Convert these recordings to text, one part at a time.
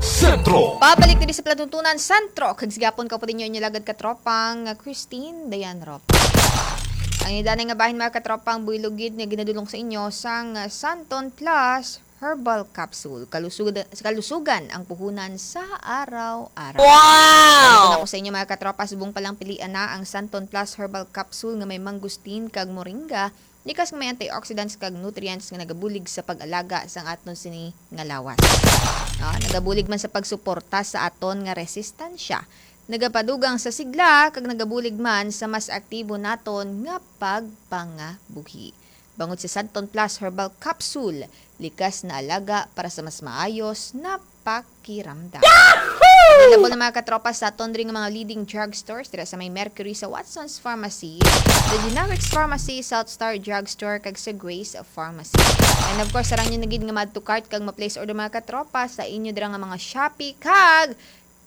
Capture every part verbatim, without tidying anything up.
Sentro. Pabalik diri sa palatuntunan, Sentro. Kag sigapon ka po ninyo inyo lagad katropang, ah, Christine Dayan Rob. Ang idanay nga bahin, mga katropang, buylog gid nga ginadulong sa inyo sang, ah, Santon Plus Herbal Capsule. Kalusugan, kalusugan ang puhunan sa araw-araw. Wow! Ako sa inyo, mga katropa, subong pa lang pilian na ang Santon Plus Herbal Capsule nga may mangosteen kag moringa, likas nga may antioxidants kag nutrients nga nagabulig sa pag-alaga sang aton sini nga lawas. No? Nagabulig man sa pagsuporta sa aton nga resistensya. Nagapadugang sa sigla kag nagabulig man sa mas aktibo naton nga pagpangabuhi. Bangod sa Santon Plus Herbal Capsule, likas na alaga para sa mas maayos na pakiramdam. Available na, mga katropa, sa aton diri nga mga leading drugstores, dira sa may Mercury, sa Watson's Pharmacy, the Generics Pharmacy, South Star Drugstore, kag sa Grace Pharmacy. And of course, sarang nyo na gid nga ma-add to cart kag ma-place order, mga katropa, sa inyo dira nga mga Shopee kag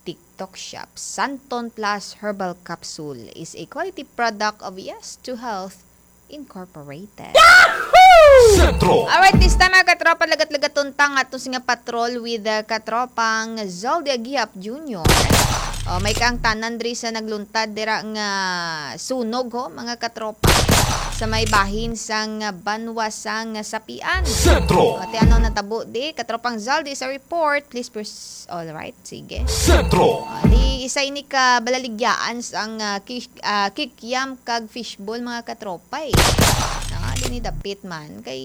TikTok Shop. Santon Plus Herbal Capsule is a quality product of Yes to Health Incorporated. Sentro. Alright, this time, mga katropa, lagat-lagaton ta nga aton sini nga patrol with, uh, katropang Zaldy Agiap Junior. O, may kaangtanan diri sa nagluntad dira nga sunog, ho, mga katropa, sa may bahin sang banwa sang Sapian. Sentro. O, ti ano natabo di, katropang Zaldy, sa report, please pers-, all right, sige. Sentro. Ah, di isa ini ka balaligyaan sang, ah, ki-, ah, kikiam kag fishball, mga katropa, eh. Ah, di ni dapit man kay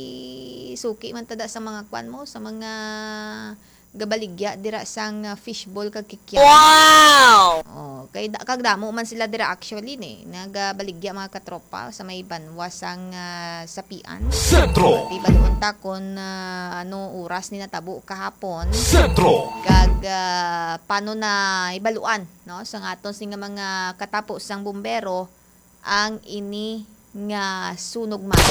suki man tada sa mga kwan mo, sa mga gabaligya dira sang, ah, fishball kag kikiam. Wow! Oh, kay da-, kag damo man sila dira actually ni nagabaligya, mga katropa, sa may banwa sang, ah, Sapian. Sentro. Di baluon ta kon, ah, ano oras ni natabo kahapon. Sentro. Kag, ah, paano na ibaluan, no, sa aton sini nga mga katapo sang bumbero ang ini nga sunog man.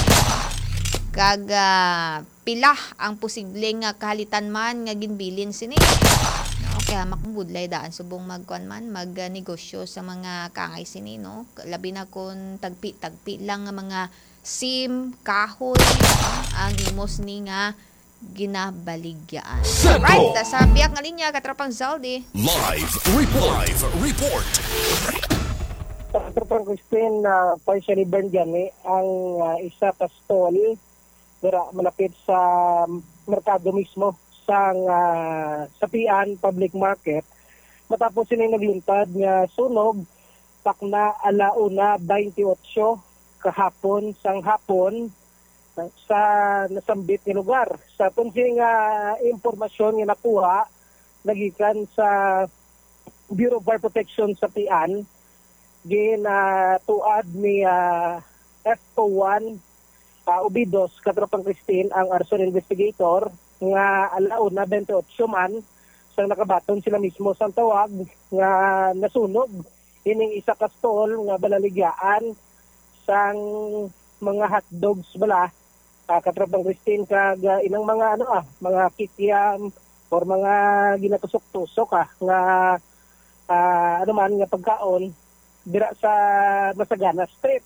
Kag, ah, pila ang posible nga kahalitan man nga ginbilin sini. No, kay hamak ang budlay daan subong magkuan man, mag, ah, negosyo sa mga kaangay sini, no? Labi na kon tagpi-tagpi lang nga mga sim, kahoy, no, ang imo sini nga ginabaligyan. Sentro. Right, sa biyak nga linya, katropang Zaldy. Live report. Live report. Katropang Christine, ah, partially burned gani ang, ah, isa ka stall dira malapit sa merkado mismo sang, ah, Sapian Public Market matapos sini nagluntad nga sunog takna ala una twenty-eight kahapon sang hapon sa nasambit nga lugar. Sa aton sini nga impormasyon nga nakuha nagikan sa Bureau of Fire Protection sa Sapian, ginatuad ni, ah, F O one, ah, Obidos, katropang Christine, ang arson investigator nga ala una twenty-eight man sang nakabaton sila mismo sang tawag nga nasunog ining isa ka stall nga balaligyaan sang mga hotdogs bala, ah, katropang Christine, kag, ah, ilang mga, ano, ah, mga kikiam or mga ginatusok-tusok, ah, nga, ah, ano man, nga pagkaon dira sa Masagana Street.